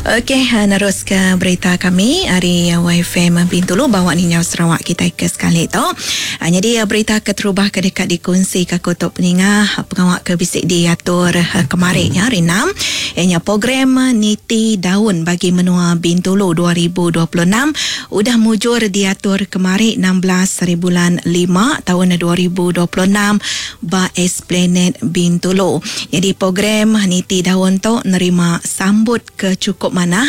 Okey, nerus ke berita kami ari YFM Bintulu bawa ninjau Sarawak kitai ke sekali tu. Nyadi berita keterubah ke deka dikunsi ke aku tu peninga pengawa ke bisi diatur kemari nya hari enam iya nya program Niti Daun Bagi Menua Bintulu 2026 udah mujur diatur kemari 16 hari bulan lima taun 2026 ba Esplanade Bintulu. Nyadi program niti daun tu nerima sambut ke chukup manah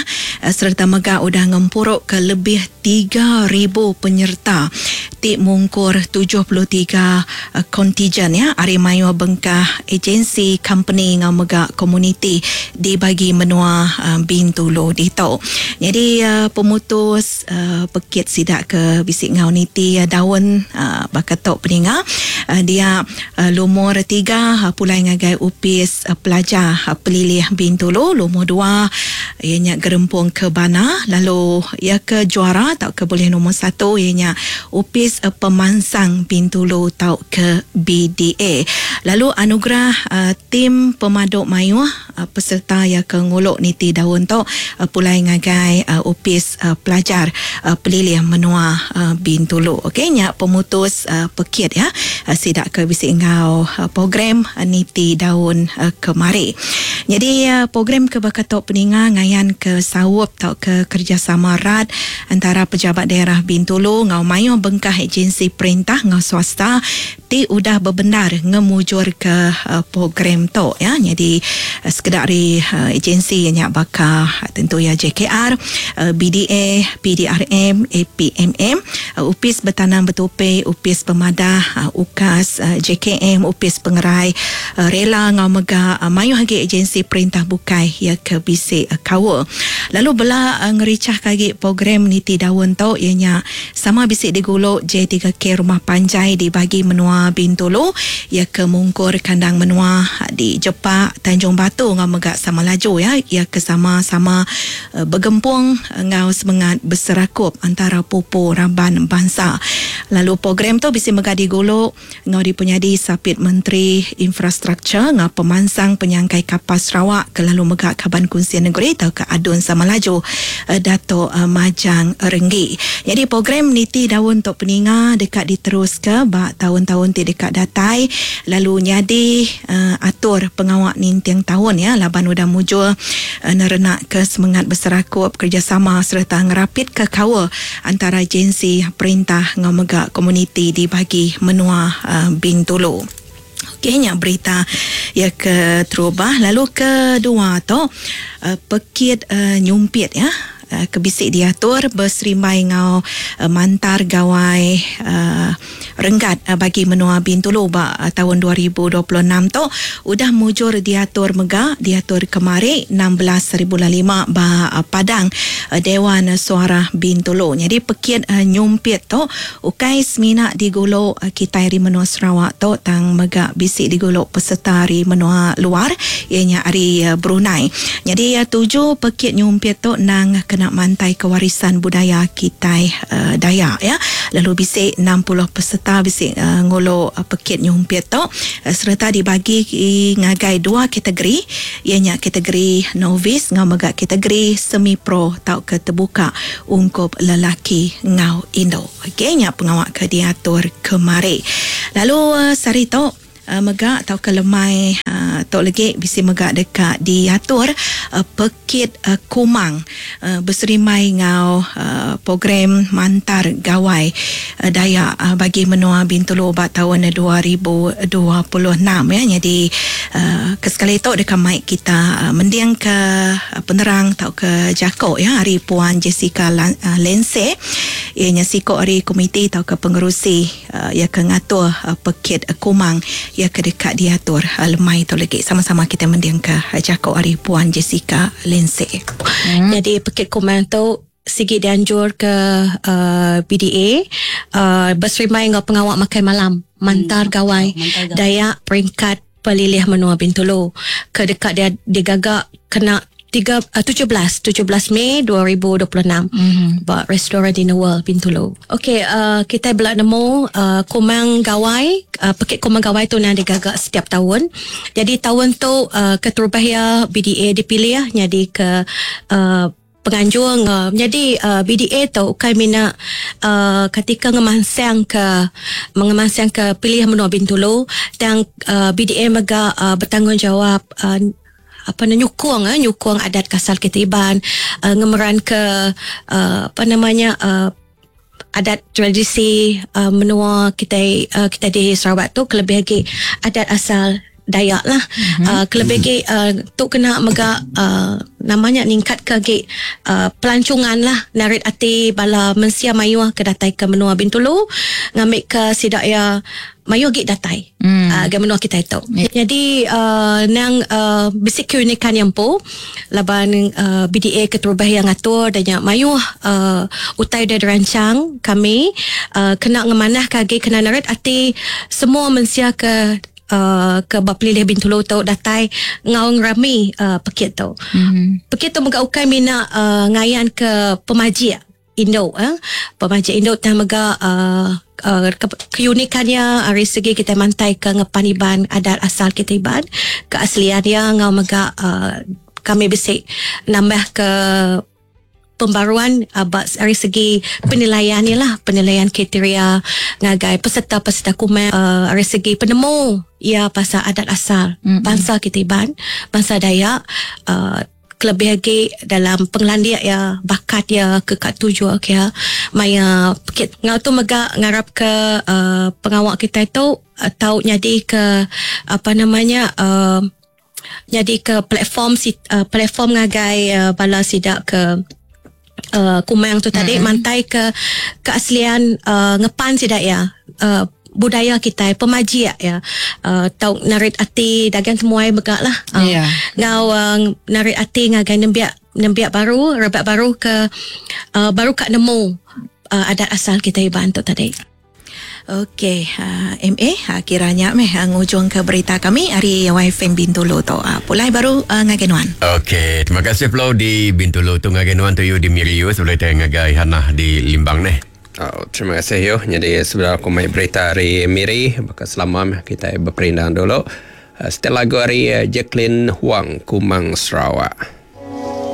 sereta mega udah ngempuruka lebih 3000 penyerta ti mungkur 73 kontijen ya ari mayuh bengkah agensi, kompeni enggau mega komuniti di bagi menua Bintulu ditu. Nyadi pemutus pekit sida ke bisi enggau niti daun baka tu peninga dia Lumur tiga pulai ngagai Opis Pelajar Pelilih Bintulu, lumur dua iya nya Gerempung Kebana lalu iya ke juara tauka bulih lumur satu iya nya Opis Pemansang Bintulu tauka BDA. Lalu anugerah tim pemadu mayuh peserta iya ke ngulu niti daun tu pulai ngagai Opis Pelajar Pelilih Menua Bintulu. Okey nya pemutus pekit iya sida ke bisi enggau program niti daun kemari. Nyadi program ke baka tu peninga ngayanka saup tauka kerejasama rat entara Pejabat Daerah Bintulu enggau mayuh bengkah agensi perintah enggau swasta ti udah bebendar ngemujurka program tu ya. Nyadi sekeda ari agensi iya nya baka tentu iya JKR, BDA, PDRM, APMM, Opis Betanam Betupi, Opis Pemadah, UKAS, JKM, Opis Pengerai, Rela enggau mega mayuh agi agensi perintah bukai iya ke bisi kaul. Lalu bela ngerichahka agi program niti daun tu iya nya Sama bisi digulu J3K Rumah Panjai di bagi menua Bintulu, iya ke mungkur kandang menua di Jepak, Tanjung Batu enggau mega Samalaju iya, iya ke sama-sama begempung enggau semengat beserakup antara pupu raban bansa. Lalu program tu bisi mega digulu Enggau dipenyadi Sapit Menteri Infrastruktur enggau Pemansang Penyangkai Kapal Sarawak ke lalu mega Kaban Kunsil Negeri tauka ADUN Samalaju Datuk Majang Renggi. Nyadi program niti daun tu peninga deka diteruska ba taun-taun ti deka datai lalu nyadi atur pengawa ninting taun ya laban udah mujur nerenakka semengat beserakup kerejasama sereta ngerapitka kaul antara agensi perintah enggau mega komuniti di bagi menua Bintulu. Okey nya berita iya ke terubah lalu kedua tu pekit nyumpit ya ke bisi diatur beserimbai enggau mantar gawai Renggat bagi menua Bintulu ba taun 2026 tu udah mujur diatur mega diatur kemari 16 hari bulan lima ba Padang Dewan Suarah Bintulu. Nyadi pekit nyumpit tu ukai semina digulu kitai ari menua Sarawak tu tang mega bisi digulu peserta ari menua luar iya nya ari Brunei. Nyadi tuju pekit nyumpit tu endang kena mantaika warisan budaya kitai Dayak ya lalu bisi 60 peserta bisi ngulu pekit nyumpit tu sereta dibagi ngagai dua kategori iya nya kategori novice enggau mega kategori semi pro tauka tebuka ungkup lelaki enggau indu. Okey nya pengawa ke diatur kemari. Lalu sehari tu mega tauka lemai tu legi bisi mega deka diatur pekit kumang beserimbai enggau program mantar gawai Dayak bagi menua Bintulu ba taun 2026 ya. Nyadi ke sekali tu deka mai kita mendingka penerang tauka jaku ya ari Puan Jessica Lense iya nya siku ari komiti tauka pengerusi Iya ke ngatur pekit Kumang iya ke deka diatur lemai tu legi. Sama-sama kitai mendingka jaku ari Puan Jessica Lindsay. Nyadi pekit Kumang tu sigi dianjurka BDA beserimbai enggau pengawa makai malam Mantar Gawai Dayak peringkat Pelilih Menua Bintulu ke deka digaga kena. 3, 17 17 Mei 2026 ba restoran Dinner World Bintulu. Okey, kita bela nemu Kumang Gawai, pekit Kumang Gawai tu nang digaga setiap tahun. Jadi tahun tu keterubah ya BDA dipilih jadi ke penganjung. Jadi BDA tu ukai mina ketika ngemansang ke mengemansang ke pilih menua Bintulu dan BDA mega bertanggungjawab apa na nyukung nyukung adat kasal kita Iban, ngemeran ke apa namanya adat tradisi menua kita, kita di Sarawak tu kelebih lagi adat asal Dayak lah. Kelebih lagi tu kena mega namanya ningkat ke lagi pelancongan lah, narit ati bala mensia mayuh ke datai ke menua Bintulu ngambil ke sidak ya mayuh gi datai ke menua kita itu. Jadi nang bisik keunikan yang po laban BDA keterubah yang ngatur dan yang mayuh utai dah dirancang kami kena ngemanah kagi kena narit ati semua mensia ke ke bapilih Bintulu tu datai ngau ngerami pekit tu. Pekit tu mega ukai mina ngayan ke pemajik Indo pemajik Indo tah mega keunikannya dari segi kita mantai ke ngepan Iban adat asal kita Iban keaslian dia ngau mega kami bisik nambah ke pembaruan dari segi penilaian ni lah, penilaian kriteria ngagai peserta-peserta kumai dari segi penemu ya pasal adat asal bangsa kita Iban, bangsa Dayak, kelebih lagi dalam penglandiak ya bakat ya ke kat tuju ya maya pekit ngau tu mega ngarap ke pengawak kita itu tau jadi ke apa namanya jadi ke platform platform ngagai bala sidak ke kumang tu tadi mantai ke keaslian ngepan sidak ya budaya kita pemajik ya tau narit ati dagang temuai megak lah ngau narit ati ngagai nembiak baru rebak baru ke baru kat nemu adat asal kita Iban tu tadi. Okey, MA kiranya meh ngujung ke berita kami hari YFM Bintulu tu. Pulai baru ngagai nuan. Okey, terima kasih Flo di Bintulu tu ngagai nuan tu yu di Miriu sebelum kita ngagai Hanah di Limbang neh. Oh, terima kasih yo. Jadi sebelum aku mai berita hari Miri, bakal selama kita berperindang dulu. Setelah lagu hari Jacqueline Huang Kumang Sarawak.